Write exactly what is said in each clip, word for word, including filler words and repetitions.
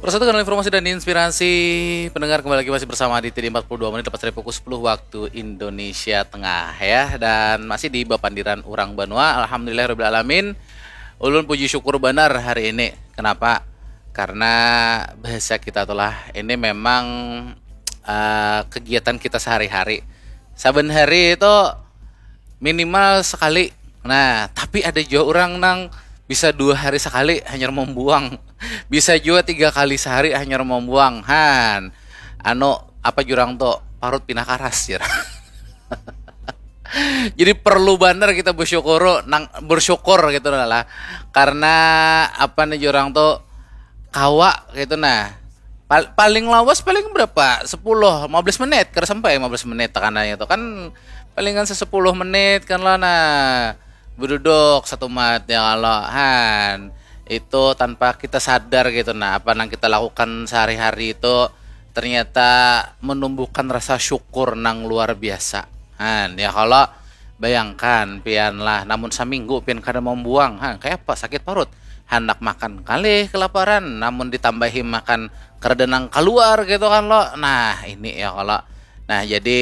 Persatukan informasi dan inspirasi pendengar, kembali lagi masih bersama di T D empat puluh dua menit lepas dari pukul sepuluh waktu Indonesia Tengah ya, dan masih di bapandiran urang banua. Alhamdulillah rabbil alamin. Ulun puji syukur banar hari ini. Kenapa? Karena bahasa kita tuh lah ini memang uh, kegiatan kita sehari-hari. Saben hari itu minimal sekali. Nah, tapi ada juga orang nang bisa dua hari sekali hanya membuang. Bisa juga tiga kali sehari hanya membuang. Han, anu apa jurang tuh, parut pinah karas jurang. Jadi perlu banget kita bersyukur nang bersyukur gitu lah, karena apa nih jurang tuh kawa gitu nah. Pal paling lawas paling berapa, sepuluh lima belas menit, kada sampai lima belas menit tekanannya tuh kan, palingan sesepuluh menit kan lah nah, beduduk satu mat ya kalau han itu tanpa kita sadar gitu nah, apa yang kita lakukan sehari-hari itu ternyata menumbuhkan rasa syukur nang luar biasa. Han ya kalau bayangkan pian lah, namun saminggu pian kada membuang, han kayak apa sakit parut, handak makan kalih kelaparan namun ditambahi makan kada nang keluar gitu kan lo. Nah ini ya kalau nah jadi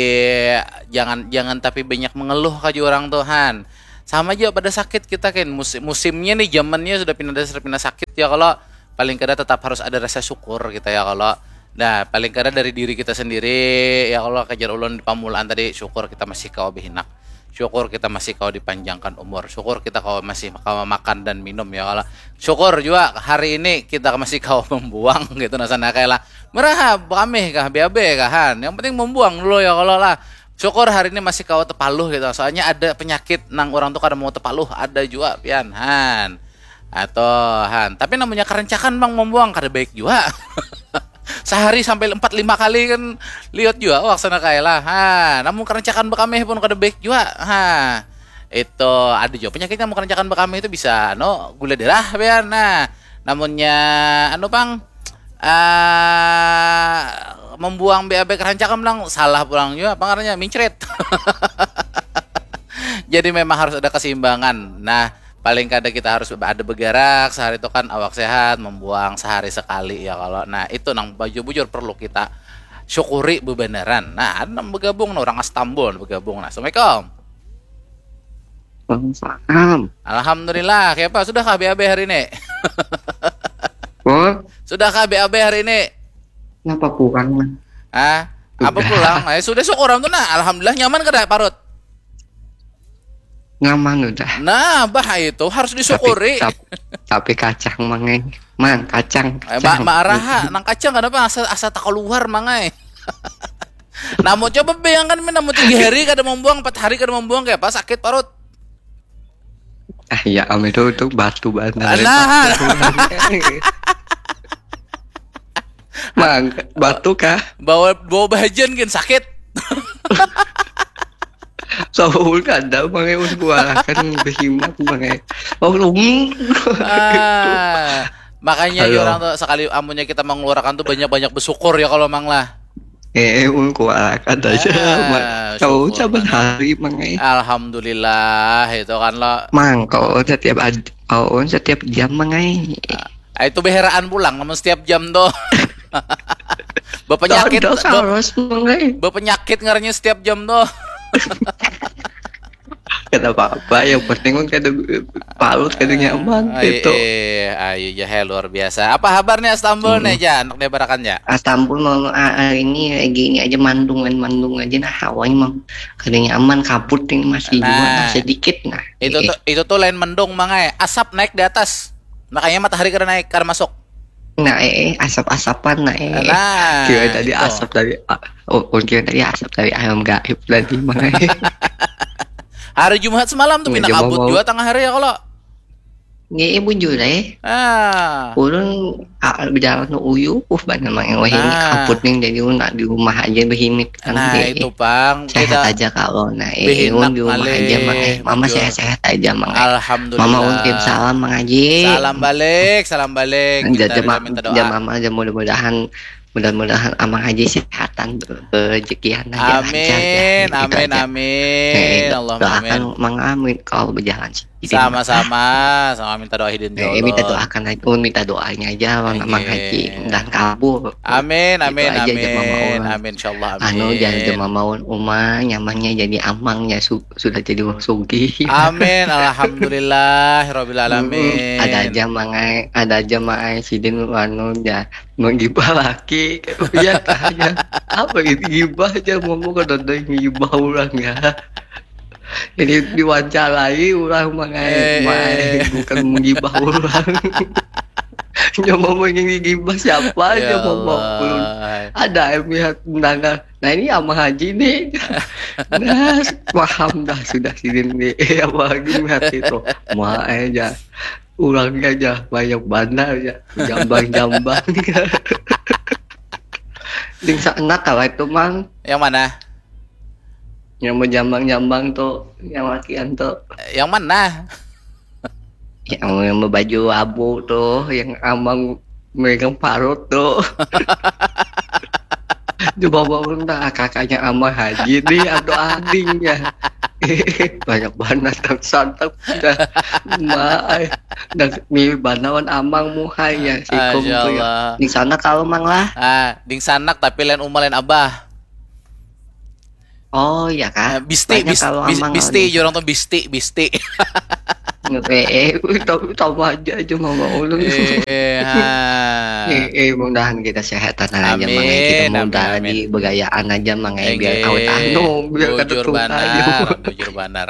jangan jangan tapi banyak mengeluh ka orang tuh han. Sama aja pada sakit kita kan, musim musimnya nih zamannya sudah pindah dasar pindah sakit ya kalau paling kada tetap harus ada rasa syukur kita ya kalau. Nah paling kada dari diri kita sendiri ya kalau, kejar ulun di pamulaan tadi, syukur kita masih kawa behinak, syukur kita masih kawa dipanjangkan umur, syukur kita kawa masih kawa makan dan minum ya kalau, syukur juga hari ini kita masih kawa membuang gitu nah sana kayak lah. Meraha bekamih kah B A B kah han, yang penting membuang dulu ya kalau lah. Syukur hari ini masih kawa tepaluh gitu, soalnya ada penyakit nang orang tuh kada mau tepaluh, ada juga pian han. Atau han, tapi namanya kerencakan bang membuang kada baik juga. Sehari sampai empat lima kali kan lihat juga waksana kayak lah ha. Namun kerencakan bekamih pun kada baik juga ha. Itu ada juga penyakitnya mau kerencakan bekamih itu bisa no gula darah pian nah. Namunnya anu pang uh, membuang B A B kerancakan bilang salah pulang juga apa ngarannya, mincret. Jadi memang harus ada keseimbangan. Nah, paling kada kita harus ada bergerak sehari itu kan awak sehat, membuang sehari sekali ya kalau. Nah, itu nang bujur-bujur perlu kita syukuri bebeneran. Nah, ada nang bergabung nah, orang Astambul bergabung. Nah, assalamualaikum. Waalaikumsalam. Alhamdulillah, kayak apa? Sudah kah B A B hari ini? What? Sudah kah B A B hari ini? Kenapa kurang man? Ah, apa pulang? Eh, sudah syukur tuh nah. Alhamdulillah nyaman kada parut? Nyaman udah. Nah, bah itu harus disyukuri. Tapi, tapi, tapi kacang mangai. Mang, kacang. kacang. Eh, ma, ma araha, nang kacang kenapa asa asa tak keluar mangai. Namun coba bayangkan min namun tiga hari kada membuang, empat hari kada membuang kayak apa sakit parut. Ah iya, am itu itu batu banget. Nah. Mang, batu kah? Bawa bawa bahajian kan sakit. Saul kada mangai un kuarakan behimat mangai. Oh, ah, makanya orang tuh sekali amunnya kita mengeluarkan tuh banyak-banyak bersyukur ya kalau mang lah. Eh, ulun kuat kada aja. Ah, kau saban hari mangai. Alhamdulillah itu kan lo. Mang kau setiap ad, kau setiap jam mangai. Ah, itu beheraan pulang namun setiap jam tuh. Bapenyakit. Bapenyakit ngarannya setiap jam tuh. Kada apa-apa, yang penting kan kada palut kada nyaman ah, gitu. Eh, ayo ya luar biasa. Apa kabar nih Astambul hmm. nih aja anak dia barakan ya. Astambul mau ah, ah, ini lagi ini aja mandungan mandung aja nah hawanya mang kada nyaman kabut ini masih nah, juga nah, sedikit nah. Itu eh. tuh itu tuh lain mendung mangai, asap naik di atas. Makanya matahari kada naik kada masuk. Nah, eh, eh asap-asapan nah eh. Nah, kira tadi itu. Asap tadi. Oh, oh kira tadi asap tadi ayam gaib tadi mangai. Hari Jumat semalam tuh pindah kabut juga tengah hari ya kalau. Nggih, ibu jure. Ah. Ulun ah, berjalan uyuh banget mang wah ini ah. Kabut nih jadi ulun di rumah aja behinik. Nah, itu pang. Sehat aja kalau nah. Eh, ulun di rumah aja mang. Eh. Mama sehat-sehat aja mang. Eh. Alhamdulillah. Mama ulun kirim salam mang Haji. Salam balik, salam balik. Kita jama, minta doa. Jama, jama mudah-mudahan mudah-mudahan amang haji sehatan rezekian aja amin lancar, ya. Amin amin amin. Allahumma amin. Doakan mang amin kalau berjalan sih. Hidin. Sama-sama, sama minta doa hidin ya, ya, minta doakan aja, oh, minta doanya aja, Mang Haji, dan kabul. Amin, amin, aja, amin, amin, insyaallah, amin. Anu, jangan cuma mau uma nyamannya jadi amang ya, su sudah jadi wong sugih. Amin, alhamdulillah, robbil alamin. Ada aja mangai, ada aja mangai sidin anu ya, menggibah laki. Ya tanya apa itu gibah aja, mau kada ada yang gibah orang ya. Ini diwawancarai orang mangai, eh, bukan menggibah orang. Nyawa mau yang gibah siapa aja, ya mau bawa ulun. Ada yang lihat mendengar. Nah, ini Ama Haji nih. Nah, paham dah sudah sini nih. Eh, apa lagi melihat itu? Mau aja. Ulangnya aja banyak bandar ya. Jambang-jambang. Ding enak kalau itu, Mang. Yang mana? Yang menjambang-jambang tuh, yang lakian tuh. Yang mana? Yang, yang berbaju abu tuh, yang amang megang parut tuh. Coba bangun dah kakaknya Ama Haji nih atau adingnya. Banyak banget santap dah. Mai. Dah mirip banawan amang muhanya si Kung tuh ya. Di sana kalau mang lah. Ah, di sana tapi lain umah lain abah. Oh iya kah? Eh, bisti, bis, bis, bisti, jurang tuh bisti, bisti. eh, eh, tahu tahu aja aja mama ulun. Eh, eh, eh, mudahan kita sehatan aja amin, mangai kita mudah amin, di begayaan aja mangai biar kau tahu biar kada bujur banar, bujur banar.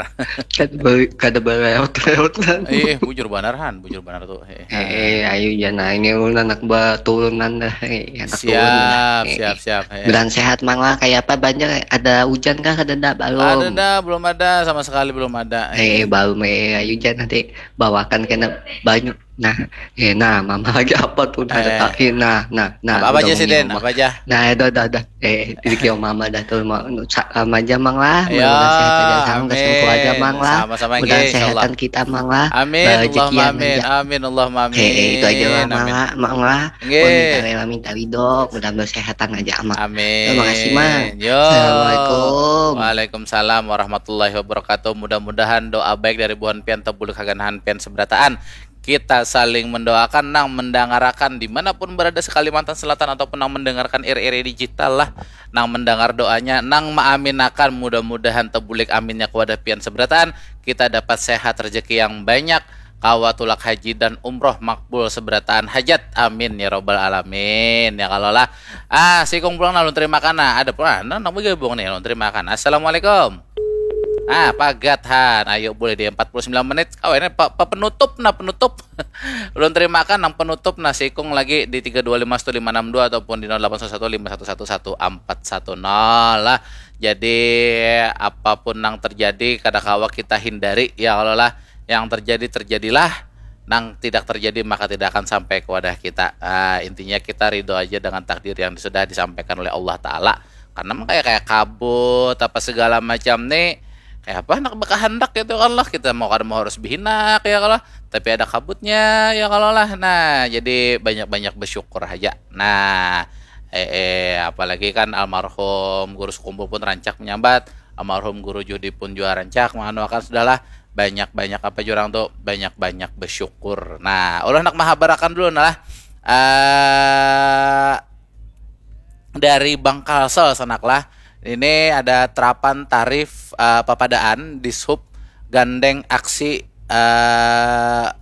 Kada berewot-rewot kan. Eh, bujur banar han, bujur banar tuh. Eh, eh, ayo jangan ini ulun anak baturunan dah. Eh, anak siap, turun dah. Eh, siap, siap. Eh. Bulan sehat mang lah, kayak apa banjir? Ada hujan kah? Ada dah, belum? Ada dah, belum ada, sama sekali belum ada. Eh, eh belum eh, ayo jangan nanti bawakan kena banyu. Nah, eh nah, mama lagi apa tuh? Nah, eh. Nah, nah, nah. Apa, apa aja sih Den? Apa aja? Nah, dah, dah, dah. Eh, titik yang mama dah tuh mau sama aja mang lah. Ya, mudah sehat aja sama amin. Keluarga mang lah. Sama-sama mudah sehatan kita mang lah. Amin. Rezeki Allahumma amin. Amin Allahumma amin. Eh, itu aja lah mang lah, mang lah. Nggih. Minta rela minta ridho, mudah kesehatan aja mang. Amin. Terima kasih mang. Yo. Assalamualaikum. Waalaikumsalam warahmatullahi wabarakatuh. Mudah-mudahan doa baik dari buhan pian tebulik haganahan pian seberataan. Kita saling mendoakan nang mendangarakan dimanapun berada se Kalimantan Selatan ataupun nang mendengarkan R R I digital lah, nang mendengar doanya, nang maaminakan mudah-mudahan tebulik aminnya kewadah pian seberataan, kita dapat sehat rezeki yang banyak, kawa tulak haji dan umroh makbul seberataan hajat, amin ya robbal alamin ya kalo lah. Ah sikung pulang nah ulun terima kana, ada pulang nah nang begabung nih ulun terima kana. Assalamualaikum. Ah pagat han, ayo boleh di empat puluh sembilan menit kawan ini pa, pa penutup nah penutup. Ulun terimakan nang penutup nah sikung lagi di tiga dua lima satu lima enam dua ataupun di nol delapan satu satu lima satu satu satu empat satu nol lah. Jadi apapun nang terjadi kada kawa kita hindari ya kalau lah yang terjadi terjadilah, nang tidak terjadi maka tidak akan sampai ke wadah kita. Ah, intinya kita ridho aja dengan takdir yang sudah disampaikan oleh Allah Taala. Karena emang kayak kayak kabut apa segala macam nih kayak apa nak berkehendak gitu kan lah kita mau kada mau harus behinak ya kalau tapi ada kabutnya ya kalau lah nah jadi banyak-banyak bersyukur aja nah eh, eh apalagi kan almarhum guru sekumpul pun rancak menyambat almarhum guru Juhdi pun juga rancak menganuakan sudahlah banyak-banyak apa jurang tuh banyak-banyak bersyukur nah Allah nak mahabarakan dulu nah lah uh, dari Bank Kalsel sanak lah. Ini ada terapan tarif uh, papadaan di sub gandeng aksi uh,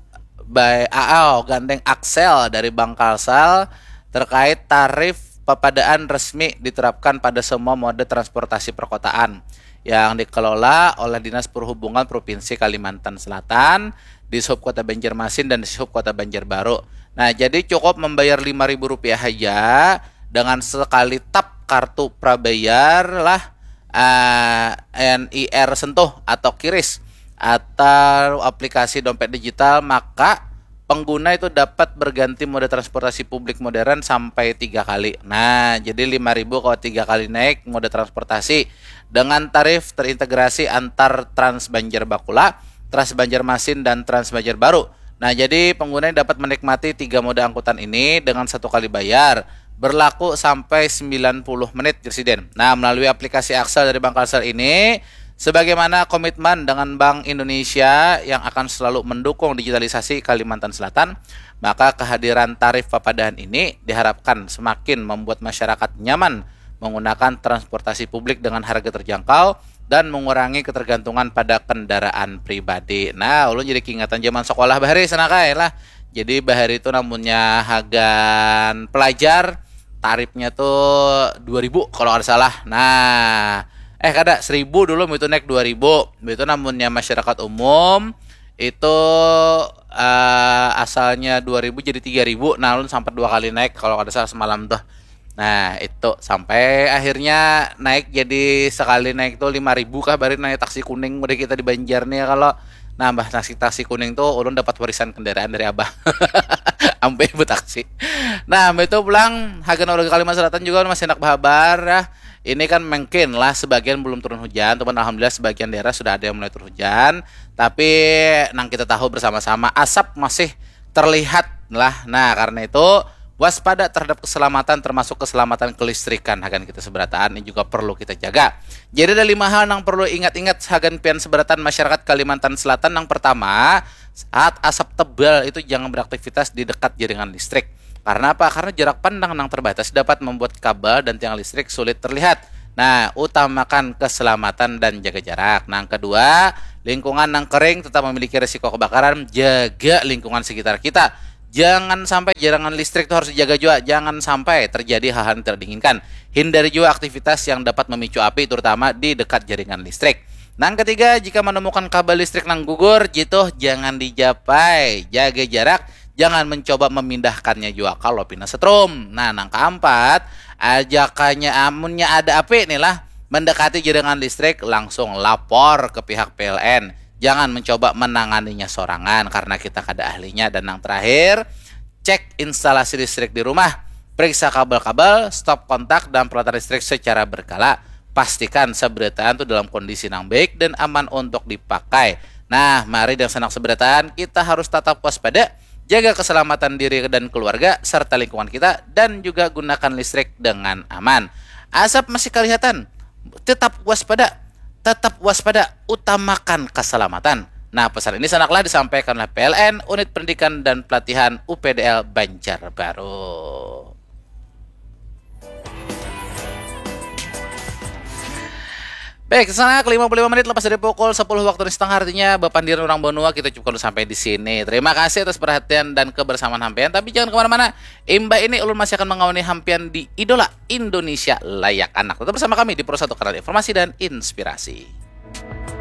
by A L gandeng Axel dari Bank Kalsel terkait tarif papadaan resmi diterapkan pada semua mode transportasi perkotaan yang dikelola oleh Dinas Perhubungan Provinsi Kalimantan Selatan, di Sub Kota Banjarmasin dan di Sub Kota Banjarbaru. Nah, jadi cukup membayar lima ribu rupiah saja dengan sekali tap kartu prabayar lah uh, N I R Sentuh atau Kiris atau aplikasi dompet digital maka pengguna itu dapat berganti moda transportasi publik modern sampai tiga kali. Nah, jadi lima ribu kalau tiga kali naik moda transportasi dengan tarif terintegrasi antar Trans Banjar Bakula, Trans Banjarmasin dan Trans Banjarbaru. Nah, jadi pengguna dapat menikmati tiga moda angkutan ini dengan satu kali bayar berlaku sampai sembilan puluh menit Presiden. Nah, melalui aplikasi Axel dari Bank Kalsel ini Sebagaimana komitmen dengan Bank Indonesia yang akan selalu mendukung digitalisasi Kalimantan Selatan, maka kehadiran tarif papadahan ini diharapkan semakin membuat masyarakat nyaman menggunakan transportasi publik dengan harga terjangkau dan mengurangi ketergantungan pada kendaraan pribadi. Nah, ulun jadi keingatan zaman sekolah bahari sana kai lah. Jadi bahari itu namunnya hagan pelajar tarifnya tuh dua ribu kalau nggak salah. Nah, eh kada, seribu dulu, itu naik dua ribu. Itu namunnya masyarakat umum itu eh, asalnya dua ribu jadi tiga ribu. Nah, ulun sampai dua kali naik kalau kada salah semalam tuh. Nah, itu sampai akhirnya naik jadi sekali naik tuh lima ribu kah, bari naik taksi kuning udah kita di Banjar nih ya kalau nambah taksi taksi kuning tuh ulun dapat warisan kendaraan dari abah. Ampe betaksi. Nah, itu pulang hagan warga Kalimantan Selatan juga masih enak bahabar ya. Ini kan mungkin lah sebagian belum turun hujan, cuman alhamdulillah sebagian daerah sudah ada yang mulai turun hujan. Tapi nang kita tahu bersama-sama asap masih terlihat lah. Nah, karena itu waspada terhadap keselamatan termasuk keselamatan kelistrikan hagan kita seberataan ini juga perlu kita jaga. Jadi ada lima hal yang perlu ingat-ingat hagan pian seberataan masyarakat Kalimantan Selatan. Yang pertama, saat asap tebal itu jangan beraktivitas di dekat jaringan listrik. Karena apa? Karena jarak pandang yang terbatas dapat membuat kabel dan tiang listrik sulit terlihat. Nah, utamakan keselamatan dan jaga jarak. Nah, yang kedua, lingkungan yang kering tetap memiliki risiko kebakaran. Jaga lingkungan sekitar kita. Jangan sampai jaringan listrik itu harus dijaga juga. Jangan sampai terjadi hal-hal yang tidak diinginkan. Hindari juga aktivitas yang dapat memicu api, terutama di dekat jaringan listrik. Nang ketiga, jika menemukan kabel listrik nang gugur, jituh jangan dijapai. Jaga jarak, jangan mencoba memindahkannya juga kalau pina setrum. Nah, nang keempat, ajakannya amunnya ada api nih lah, mendekati jaringan listrik, langsung lapor ke pihak P L N. Jangan mencoba menanganinya sorangan karena kita kada ahlinya. Dan yang terakhir, cek instalasi listrik di rumah. Periksa kabel-kabel, stop kontak, dan peralatan listrik secara berkala. Pastikan seberataan itu dalam kondisi yang baik dan aman untuk dipakai. Nah, mari dengan senang seberataan, kita harus tetap waspada, jaga keselamatan diri dan keluarga, serta lingkungan kita, dan juga gunakan listrik dengan aman. Asap masih kelihatan, tetap waspada, tetap waspada, utamakan keselamatan. Nah, pesan ini sanaklah disampaikan oleh P L N, Unit Pendidikan dan Pelatihan U P D L Banjarbaru. Baik, sana ke lima puluh lima menit lepas dari pukul sepuluh waktu Indonesia Tengah, artinya bapandiran orang banua kita cukupkan sampai di sini. Terima kasih atas perhatian dan kebersamaan hampian, tapi jangan kemana-mana. Imbah ini ulun masih akan mengawani hampian di Idola Indonesia Layak Anak. Tetap bersama kami di Pro satu Kanal Informasi dan Inspirasi.